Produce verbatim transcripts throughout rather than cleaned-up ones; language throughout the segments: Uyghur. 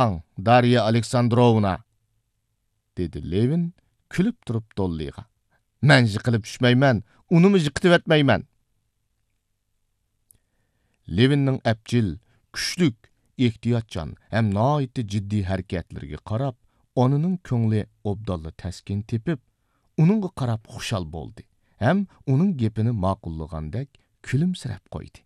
ئاڭ، دارىيا ئالېكساندروۋنا!» دېدى لېۋىن كۈلۈپ تۇرۇپ دوللىغا. «مەن يىقىلىپ چۈشمەيمەن، ئۇنىمۇ يىقىتىۋەتمەيمەن.» لېۋىننىڭ ئەپچىل، كۈچلۈك، ئېھتىياتچان ھەم ناھايىتى جىددىي ھەرىكەتلىرىگە قاراپ، ئانىنىڭ كۆڭلى ئوبدانلا تەسكىن تېپىپ، ئۇنىڭغا قاراپ خۇشال بولدى ھەم ئۇنىڭ گېپىنى ماقۇللىغاندەك كۈلۈمسىرەپ قويدى.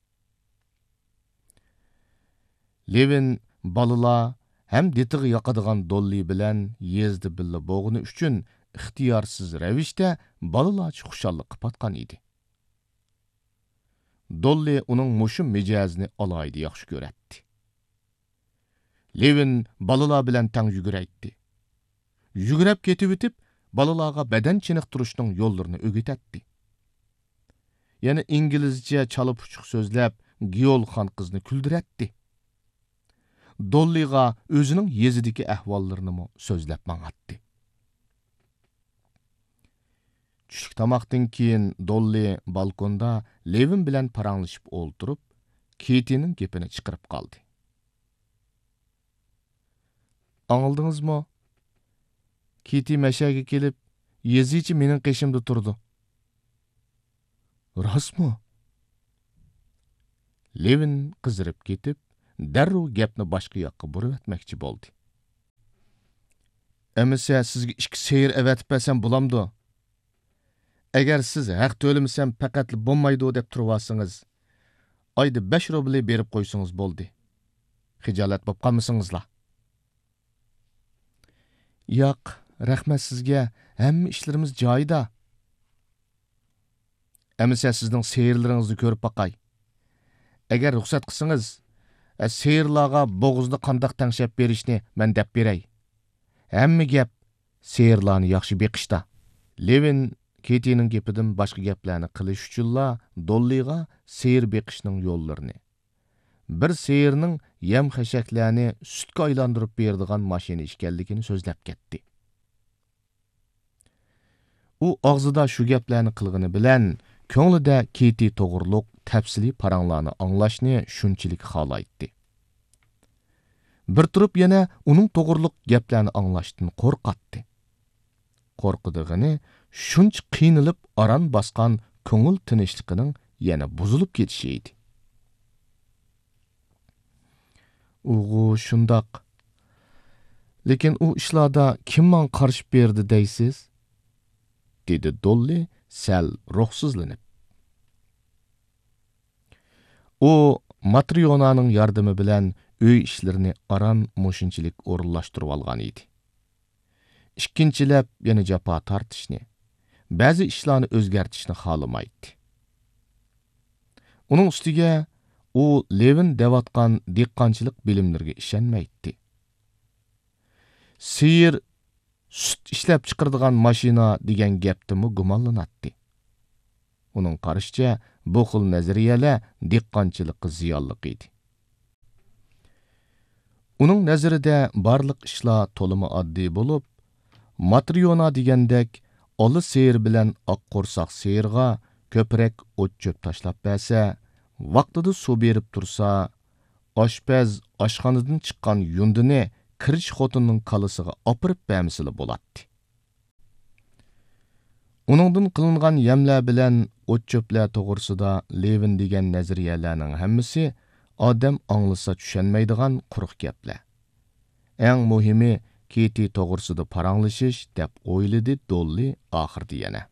لېۋىن بالىلار ھەم دېتىغا ياقىدىغان دوللى بىلەن يېزىدا بىللە بولغىنى ئۈچۈن ئىختىيارسىز رەۋىشتە بالىلارچە خۇشاللىققا پاتقان ئىدى. دوللى ئۇنىڭ مۇشۇ مىجەزىنى ئالاھىدە ياخشى كۆرەتتى. لېۋىن بالىلار بىلەن تەڭ يۈگۈرەيتتى. يۈگۈرۈپ كېتىۋېتىپ، بالىلارغا بەدەن چېنىقتۇرۇشنىڭ يوللىرىنى ئۆگىتەتتى. يەنە ئىنگلىزچە چالا-پۇچۇق سۆزلەپ، گىيول خانقىزنى كۈلدۈرەتتى. دوللىغا ئۆزىنىڭ يېزىدىكى ئەھۋاللىرىنىمۇ سۆزلەپ ماڭاتتى. چۈشلۈك تاماقتىن كېيىن دوللى بالكوندا لېۋىن بىلەن پاراڭلىشىپ ئولتۇرۇپ، كېتىنىڭ گېپىنى چىقىرىپ قالدى. ئاڭلىدىڭىزمۇ؟ كېتى مەشەگە كېلىپ، يېزىچە مېنىڭ قېشىمدا تۇرىدۇ. راستمۇ؟ لېۋىن قىزىرىپ كېتىپ، دەررۇ گەپنى باشقا ياققا بۇرۇۋەتمەكچى بولدى. ئەمىسە سىزگە ئىككى سېيىر ئەۋەتىپ بەرسەم بولامدۇ؟ ئەگەر سىز ھەق تۆلىمىسەم پەقەتلا بولمايدۇ دەپ تۇرۇۋالسىڭىز، ئايدا بەش روبلى بېرىپ قويسىڭىز بولدى. خىجالەت بولۇپ قالمىسىڭىزلا. ياق، رەھمەت سىزگە، ھەممە ئىشلىرىمىز جايىدا. ئەمىسە سىزنىڭ سېيىرلىرىڭىزنى كۆرۈپ باقاي. ئەگەر رۇخسەت قىلسىڭىز، ئە، سېيىرلارغا بوغۇزنى قانداق تەڭشەپ بېرىشنى مەن دەپ بېرەي. ھەممە گەپ سېيىرلارنى ياخشى بېقىشتا. لېۋىن كېتىنىڭ گېپىدىن باشقا گەپلەرنى قىلىش ئۈچۈنلا دوللىغا سېيىر بېقىشنىڭ يوللىرىنى، بىر سېيىرنىڭ يەم-خەشەكلەرنى سۈتكە ئايلاندۇرۇپ بېرىدىغان ماشىنا ئىكەنلىكىنى سۆزلەپ كەتتى. ئۇ ئاغزىدا شۇ گەپلەرنى قىلغىنى بىلەن، كۆڭلىدە كېتى توغرۇلۇق تەپسىلىي پاراڭلارنى ئاڭلاشنى شۇنچىلىك خالايتتى. بىر تۇرۇپ يەنە ئۇنىڭ توغرۇلۇق گەپلەرنى ئاڭلاشتىن قورقاتتى. قورقىدىغىنى شۇنچە قىينىلىپ ئاران باسقان كۆڭۈل تىنچلىقىنىڭ يەنە بۇزۇلۇپ كېتىشى ئىدى. ئۇغۇ شۇنداق. لېكىن ئۇ ئىشلاردا كىم ماڭا قارشى بېرىدۇ دەيسىز؟ دېدى دوللى سەل روھسىزلىنىپ. ئۇ ماترىيونانىڭ ياردىمى بىلەن ئۆي ئىشلىرىنى ئاران مۇشۇنچىلىك ئورۇنلاشتۇرۇۋالغان ئىدى. ئىككىنچىلەپ يەنە جاپا تارتىشنى، بەزى ئىشلارنى ئۆزگەرتىشنى خالىمايتتى. ئۇنىڭ ئۈستىگە ئۇ لېۋىن دەۋاتقان دېھقانچىلىق بىلىملىرىگە ئىشەنمەيتتى. سېيىر سۈت ئىشلەپ چىقىرىدىغان ماشىنا دېگەن گەپتىنمۇ گۇمانلىناتتى. ئۇنىڭ قارىشىچە، بۇ خىل نەزەرىيەلەر دېھقانچىلىققا زىيانلىق ئىدى. ئۇنىڭ نەزىرىدە بارلىق ئىشلار تولىمۇ ئاددىي بولۇپ، ماترىيونا دېگەندەك ئالا سېيىر بىلەن ئاق قورساق سېيىرغا كۆپرەك ئوت-چۆپ تاشلاپ بەرسە، ۋاقتىدا سۇ بېرىپ تۇرسا، ئاشپەز ئاشخانىدىن چىققان يۇندىنى كىرىچ خوتۇننىڭ كاللىسىغا ئاپىرىپ بەرمىسىلا بولاتتى. ئۇنىڭدىن قىلىنغان يەملەر بىلەن ئوت-چۆپلەر توغرىسىدا لېۋىن دېگەن نەزەرىيەلەرنىڭ ھەممىسى ئادەم ئاڭلىسا چۈشەنمەيدىغان قۇرۇق گەپلەر. ئەڭ مۇھىمى كېتى توغرىسىدا پاراڭلىشىش، دەپ ئويلىدى دوللى ئاخىرىدا يەنە.